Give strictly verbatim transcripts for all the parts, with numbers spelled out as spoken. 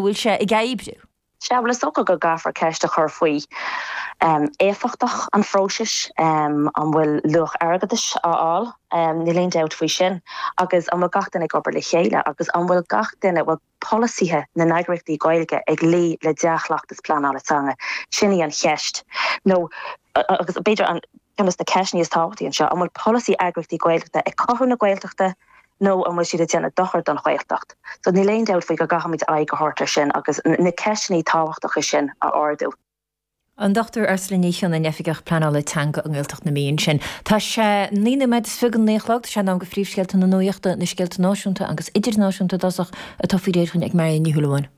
bhfuil sé ag oibriú. Sea, bhuel is dócha go gcaithfear ceist a chur faoi éifeachtacht an phróisis, an bhfuil luach airgeadais á fháil, níl aon dabht faoi sin, agus an bhfuil gach duine ag obair le chéile agus an bhfuil gach duine, bhfuil polasaithe na n-eagraíochtaí Gaeilge ag luí le dea-chleachtas pleanála teanga? Sin í an cheist. Nó, agus b'fhéidir an ceann de na ceisteanna is tábhachtaí anseo, an bhfuil polasaí eagraíochtaí Gaeltachta ag cothú na Gaeltachta nó an bhfuil siad ag déanamh dochar don Ghaeltacht? So níl aon dabht faoi go gcaithfimid aghaidh a thabhairt air sin agus na ceisteanna tábhachtacha sin a ardú. An Dochtúir Ursula Ní Chionnaith, Oifigeach Pleanála Teanga i nGaeltacht na Mí ansin. Tá sé naoi nóiméad is fiche go naoi a chlog, tá sé in am do phríomhscéalta na nuachta, na scéalta náisiúnta agus idirnáisiúnta i dtosach, atá faoi réir ag Marion Ní Shúilleabháin.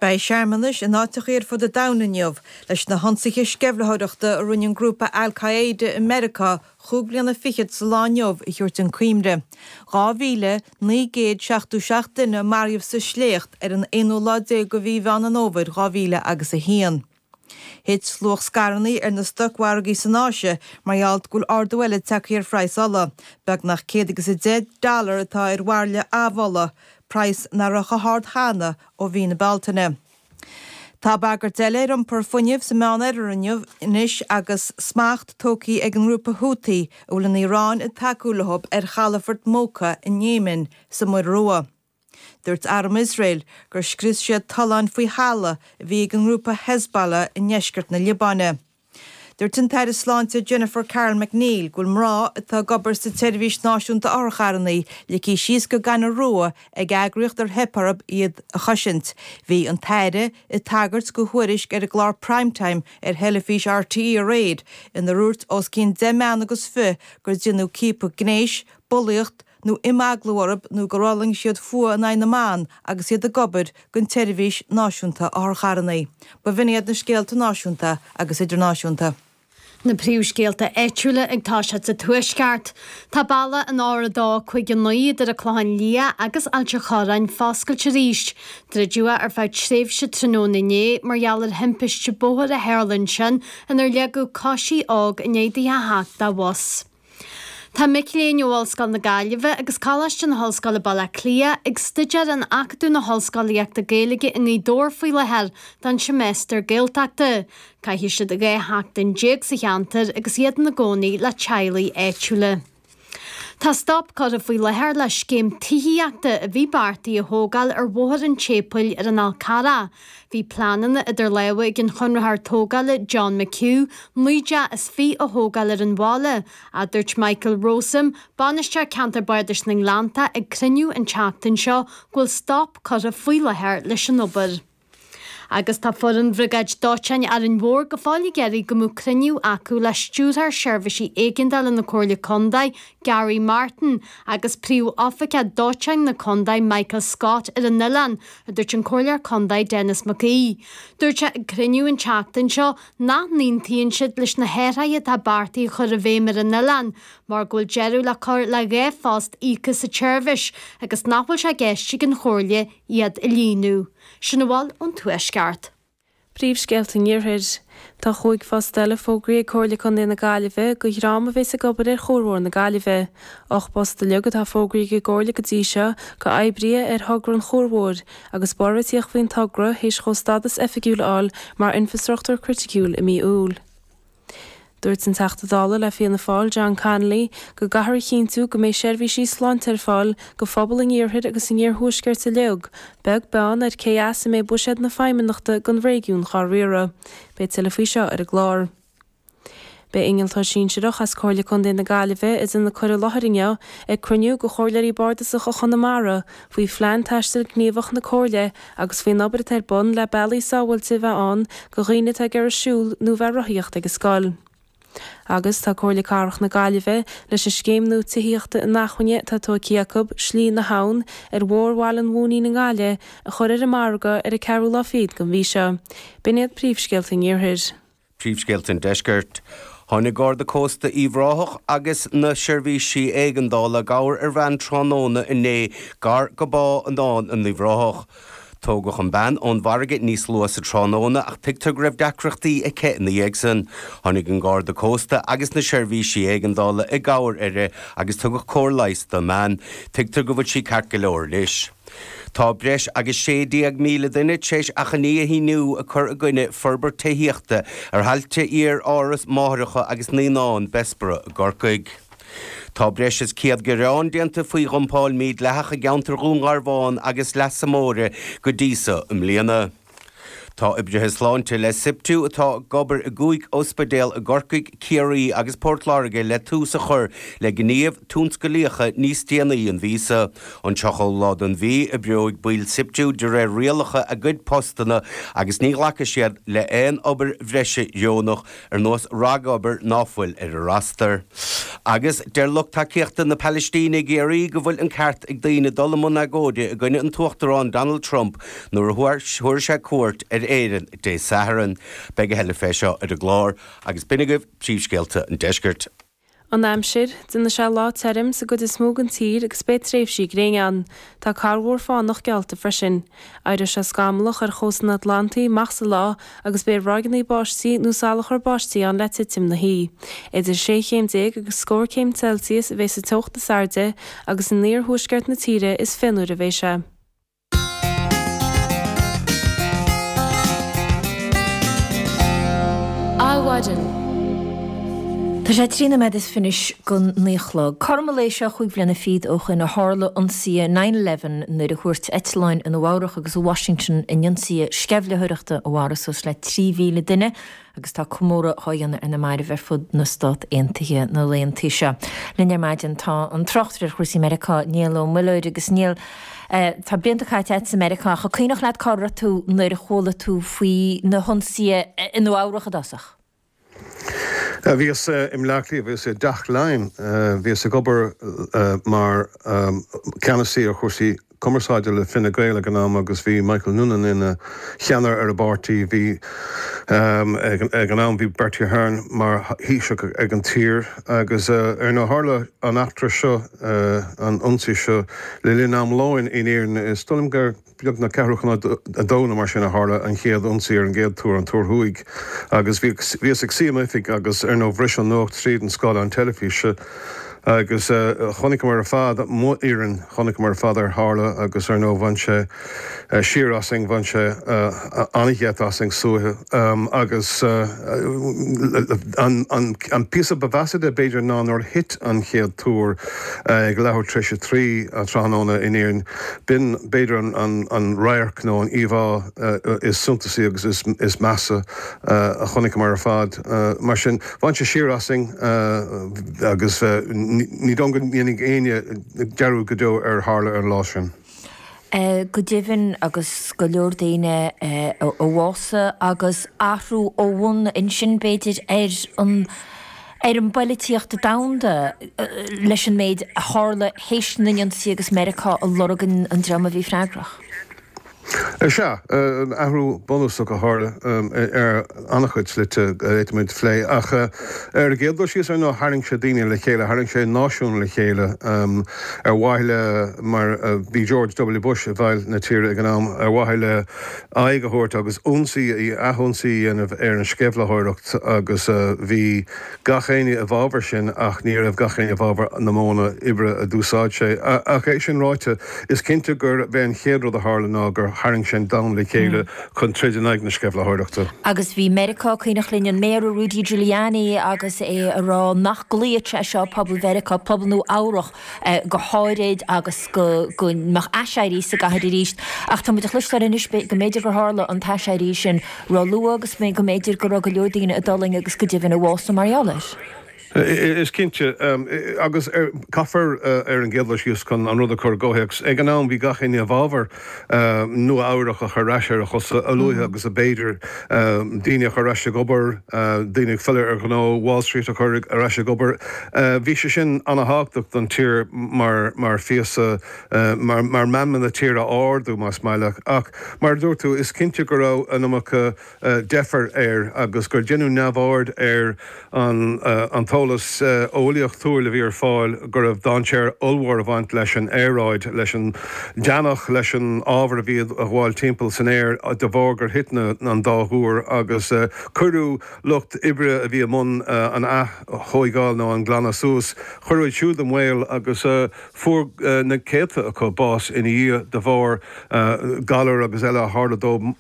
Beidh searmanais in áiteachaí ar fud an domhain inniu leis na hionsaithe sceimhlitheoireachta a rinne an grúpa Al Qaeda i Meiriceá chúig bliana fichead sa lá inniu a thabhairt chun cuimhne. dhá mhíle naoi gcéad seachtó seacht duine a maraíodh sa sléacht ar an aonú lá déag de mhí Mheán an Fhómhair dhá mhíle agus a haon. Thit luach scaireanna ar na stocmhargaí san Áise mar gheall go bhfuil ardú eile tagtha ar phraghas ola. Beagnach céad agus a deich dollar atá ar bhairille amhola, praghas nach raibh chomh hard cheana ó mhí na Bealtaine. Tá bagairt eile ar iompar fuinnimh sa Meánoirthear inniu anois agus smacht tógtha ag an ngrúpa Houthi, a bhfuil an Iaráin ag tacú leo, ar chalafort Mokha in Éimin sa Muir Rua. Dúirt arm Iosrael gur scrios siad tolláin faoi thalamh a bhí ag an ngrúpa Hezbollah i ndeisceart na Liobáine. Dúirt an tAire Sláinte Jennifer Carroll MacNeill go bhfuil mná atá ag obair sa tSeirbhís Náisiúnta Otharcharranna ligthe síos go gaineamh rua ag eagraíocht ar theip orthu iad a chosaint. Bhí an tAire ag tagairt do thuairisc ar an gclár Prime Time ar theilifís RTÉ aréir inar dhúirt os cionn deich mbean agus fiche gur deineadh ciapadh gnéis, bulaíocht, nó imeaglú orthu nó gur fhulaing siad fuath in aghaidh na mban agus iad ag obair don tSeirbhís Náisiúnta Otharcharranna. B'in iad na scéalta náisiúnta agus idirnáisiúnta. Na príomhscéalta áitiúla ag toiseacht sa Tuaisceart. Tá bealach an R a dó cúig a naoi idir an Clochán Liath agus Ailt an Chorráin foscailte arís. Druideadh é ar feadh tréimhse tráthnóna inné mar gheall ar thimpiste bóthair a tharla ansin inar leagadh coisí óg i ndiaidh di a theacht de bhus. Tá mic léinn ó Ollscoil na Gaillimhe agus Coláiste na hOllscoile Baile Átha Cliath ag staidéar in Acadamh na hOllscolaíochta Gaeilge i nGaoth Dobhair faoi láthair don seimeastar Gaeltachta. Caithfidh siad dhá sheachtain déag sa cheantar agus iad ina gcónaí le teaghlaigh áitiúla. Tá stop curtha faoi láthair le scéim tithíochta a bhí beartaithe a thógáil ar Bhóthar an tSéipéil ar an Fhál Carrach. Bhí pleananna idir lámha ag an chonraitheoir tógála John McHugh naoi dteach is fiche a thógáil ar an bhaile, a dúirt Michael Rowsome, Bainisteoir Ceantar Bardais na nGleannta ag cruinniú an tseachtain seo go bhfuil stop curtha faoi láthair leis an obair. Agus tá foireann Bhriogáid Dóiteáin Árainn Mhór go fóill ag iarraidh go mbeadh cruinniú acu le Stiúrthóir Seirbhísí Éigeandála na Comhairle Contae, Gary Martin, agus Príomh-Oifigeach Dóiteáin na Contae, Michael Scott, ar an oileán, a dúirt an Comhairleoir Contae Denis Mac Aoidh. Dúirt sé ag cruinniú an tseachtain seo nach n-aontaíonn siad leis na hathruithe atá beartaithe a chur i bhfeidhm ar an oileán mar go bhfuil deireadh le cur le dhá phost íoctha sa tseirbhís agus nach bhfuil sé i gceist ag an Chomhairle iad a líonadh. Sin a bhfuil ón Tuaisceart. Príomhscéalta an Iarthair. Tá chúig phost eile fógraithe ag Comhairle Contae na Gaillimhe do dhream a bheas ag obair ar Chuar Mhór na Gaillimhe. Ocht bpost uilig atá fógraithe ag an gComhairle go dtí seo do oibrithe ar thogra an Chuair Mhóir agus barr-réitíodh faoin togra théis dhó stádas oifigiúil a fháil mar infreastruchtúr criticiúil i mí Iúil. Dúirt an Teachta Dála le Fianna Fáil John Connolly go gcaithfear a chinntiú go mbeidh seirbhísí sláinte ar fáil do phobal an iarthair agus an iarthuaiscirt uilig, beag beann ar cé as a mbeidh buiséad na Feidhmeannachta don réigiún á riaradh. Beidh tuilleadh faoi seo ar an gclár. Beidh innealtóir sinsearach as Comhairle Contae na Gaillimhe ag déanamh cur i láthair inniu ag cruinniú de chomhairleoirí bardasacha Chonamara faoi phlean taistil gníomhach na Comhairle agus faoin obair atá ar bun le bealaí sábháilte a bheith ann do dhaoine atá ag iarraidh siúl nó bheith ag rothaíocht ag an scoil. Agus tá Comhairle Cathrach na Gaillimhe leis an scéim nua tithíochta inacmhainne atá tógtha acu, Slí na hAbhann, ar Bhóthar Bhaile an Mhóinín i nGaillimh, a chur ar an margadh ar an ceathrú lá fichead den mhí seo. B'in iad príomhscéalta an Iarthair. Príomhscéalta an Deiscirt. Tháinig Garda Cósta Uíbh Ráthach agus na seirbhísí éigeandála i gcabhair ar bhean tráthnóna inné gar go Bá an Dáin in Uíbh Ráthach. Tógadh an bean ón bhfarraige níos luaithe sa tráthnóna ach tuigtear go raibh deacrachtaí aici ina dhiaidh san. Tháinig an Garda Cósta agus na seirbhísí éigeandála i gcabhair uirthi agus tugadh cóir leighis don mbean. Tuigtear go bhfuil sí ceart go leor anois. Tá breis agus sé déag míle duine tar éis achainí a shíniú ag cur i gcoinne forbairt tithíochta ar thailte iar-áras máithreacha agus naíonán Bessborough i gCorcaigh. Tá breis is céad gearán déanta faoi dhumpáil mhídhleathach i gceantar Dhún Garbhán agus Leasa Móire go dtí seo i mbliana. Tá oibrithe sláinte le SIPTU atá ag obair i gcúig ospidéal i gCorcaigh, Ciarraí agus Port Láirge le tús a chur le gníomh tionsclaíoch níos déanaí an mhí seo. An tríochadú lá den mhí oibreoidh baill SIPTU de réir rialacha a gcuid postanna agus ní ghlacfaidh siad le haon obair bhreise dheonach ar nós ragobair ná fuil ar a roster. Agus deir lucht tacaíochta na Palaistíne i gCiarraí go bhfuil an ceart ag daoine dul i mbun agóide i gcoinne an tUachtarán Donald Trump nuair a thabharfaidh sé cuairt ar Éirinn Dé Sathairn. Beidh a thuilleadh fé seo ar an gclár agus b'in agaibh príomhscéalta an deiscirt. An aimsir, déanfaidh sé lá tirim sa gcuid is mó den tír agus beidh tréimhsí gréine ann. Tá corrmhúr fánach geallta freisin. Éireoidh sé scamallach ar chósta an Atlantaigh amach sa lá agus beidh ráigeanna báistí nó salachar báistí ann le titim na hoíche. Idir sé chéim déag agus scór céim Celsius a bheidh sa teocht is airde agus in iarthuaisceart na tíre is fionnuaire a bheidh sé. Adhmhaidin. Tá sé trí nóiméad is fiche go naoi a chlog. Cothrom an lae seo chúig bhliana fichead ó shoin a tharla ionsaithe nine eleven nuair a thuairt eitleáin i Nua Eabhrac agus i Washington in ionsaithe sceimhlitheoireachta a mharaigh suas le trí mhíle duine agus tá comóradh á dhéanamh ar na mairbh ar fud na Stát Aontaithe na laethanta seo. Linn ar maidin tá an tráchtaire ar chúrsaí Meiriceá Niall Ó Muilleoir agus Niall tá blianta caite agat i Meiriceá ach an cuimhneach leat cá raibh tú nuair a chuala tú faoi na hionsaithe i Nua Eabhrac i dtosach. Bhíos i mBleá Cliath, bhíos i dTeach Laighean, bhíos ag obair mar ceannasaí ar chúrsaí cumarsáide le Fine Gael ag an am agus bhí Michael Noonan ina cheannaire ar an bpáirtí. Bhí ag an am bhí Bertie Ahern mar Thaoiseach ag an tír agus ar ndóigh tharla an eachtra seo, an ionsaí seo le linn am lóin in Éirinn. Is dóigh liom gur beagnach ceathrú chun a dó nó mar sin a tharla an chéad ionsaí ar an gcéad túr, an Túr Thuaidh, agus bhíos ag suí i m'oifig agus ar ndóigh bhris an nuacht tríd an scáileán teilifíse agus chonaiceamar ar fad, mo fhoireann, chonaiceamar ar fad ar tharla agus ar ndóigh bhain sé siar asainn, bhain sé an-gheit asainn suaitheadh agus an píosa ba mheasa de b'fhéidir ná nuair a thit an chéad túr ag leathuair tar éis a trí tráthnóna in Éirinn. B'in b'fhéidir an radharc nó an íomhá is suntasaí agus is measa a chonaiceamar ar fad. Mar sin, bhain sé siar asainn agus ní dóigh go ndéanfaidh éinne dearúd go deo ar tharla ar an lá sin. Go deimhin agus go leor daoine a bhásaigh agus athrú ó bhun ansin b'fhéidir ar an ar an bpolaitíocht domhanda leis an méid a tharla théis na n-ionsaí agus Meiriceá ag lorg an dream a bhí freagrach. Sea, athrú bunúsach a tharla ar an-chuid slite a d'fhéadfaimid a phlé, ach ar an gcéad dul síos, ar ndóigh, tharraing sé daoine le chéile, tharraing sé náisiún le chéile ar mhaithe le, mar bhí George W. Bush i bhfeighil na tíre ag an am, ar mhaithe le aghaidh a thabhairt agus ionsaí, athionsaí a dhéanamh ar an sceimhlitheoireacht agus bhí gach éinne i bhfabhar sin ach ní raibh gach éinne i bhfabhar na modhanna oibre a d'úsáid sé. Ach é sin ráite, is cinnte gurb é an chéad rud a tharla ná gur tharraing sé an domhan le chéile chun troid in aghaidh na sceimhlitheoireachta. Agus bhí Meiriceá, cuimhneach linn an Méara Rudy Giuliani agus é a rá nach gcloífeadh sé seo pobal Mheiriceá, pobal Nua Eabhrach go háirid agus go go mbeadh aiséirí sa gcathair arís. Ach tá muid a chloisteáil anois go mb'fhéidir gur tharla an t-aiséirí sin ró-luath agus go mb'fhéidir go raibh go leor daoine a d'fhulaing agus go deimhin a bhásaigh mar gheall air. Is cinnte, agus caithfear ar an gcéad dul síos chun an rud a chur i gcomhthéacs, ag an am bhí gach éinne i bhfabhar Nua Eabhrac a chur ar ais ar a chosa a luaithe agus ab fhéidir, daoine a chur ar ais ag obair, daoine ag filleadh ar ghnó, Wall Street a chur ar ais ag obair. Bhí sé sin an-thábhachtach don tír mar mar phíosa, mar mar meanma na tíre a ardú, más maith leat. Ach mar a dúirt tú, is cinnte go raibh an iomarca deifir air agus gur deineadh neamhaird ar an an t-eolas. eolas eolaíochtúil a bhí ar fáil go raibh dainséar ollmhór ag baint leis an aeráid, leis an deannach, leis an ábhar a bhí ag gabháil timpeall san aer de bharr gur thit an dá thúr agus cuireadh lucht oibre a bhí i mbun an ath-thóigeáil nó an glanadh suas, cuireadh iad siúd i mbaol agus fuair na céadta acu bás ina dhiaidh de bharr galar agus eile a tharla dóibh.